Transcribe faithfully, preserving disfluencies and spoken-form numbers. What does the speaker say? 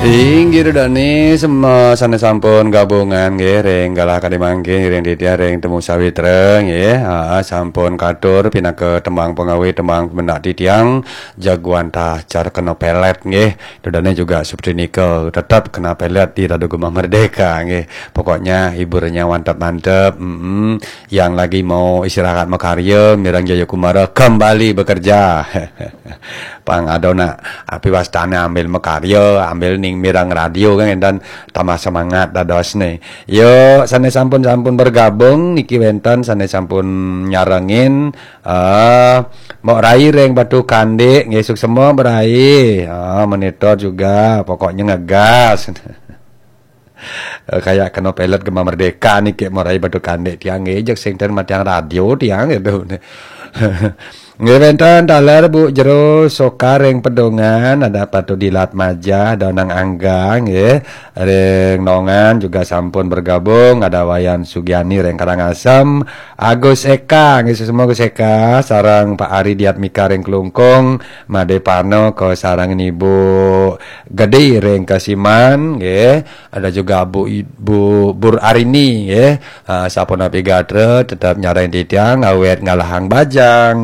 Inggih dane sema sane sampun gabungan nggih ring galah kadi mangkin ring titiang ring Temu Sawitra nggih. Ha, sampun katur pinaka tembang pengawit, tembang pemendak titiang, jagoan tah cara kena pelet nggih. Dane juga seperti nika tetap kena pelet di Radu Gema Merdeka nggih. Pokoknya hiburannya mantap-mantap. Mm-mm. Yang lagi mau istirahat makarya, Mirang Jayakumara kembali bekerja. Pang ada nak api wastane ambil makarya, ambil ning Mirang Radio kan, dan tambah semangat dados nih. Yo, sane sampun-sampun bergabung niki wenten sane sampun nyarengin, eh, Mbok Rai ring Batu Kandik, nggih suksema Mbok Rai. Ah, monitor juga, pokoknya ngegas. Eh, kayak kena pelet Gema Merdeka niki, Mbok Rai Batu Kandik tiang nggih, jeg sing ten matiang radio tiang gitu. Nggih wenten taler Bu Jero Soka ring Pedongan, ada Patu Dilat Majah, ada Nang Angga nggih. Ring Nongan juga sampun bergabung, ada Wayan Sugiani ring Karangasem, Agus Eka, nggih semua Agus Eka, sareng Pak Ari Diatmika ring Klungkung, Made Parno ke sareng Ibu Gede ring Kesiman, nggih. Ada juga Bu I- Bu Bur Arini, nggih. Ah, sapunapi gatra tetap nyareng titiang awet ngalahang bajang.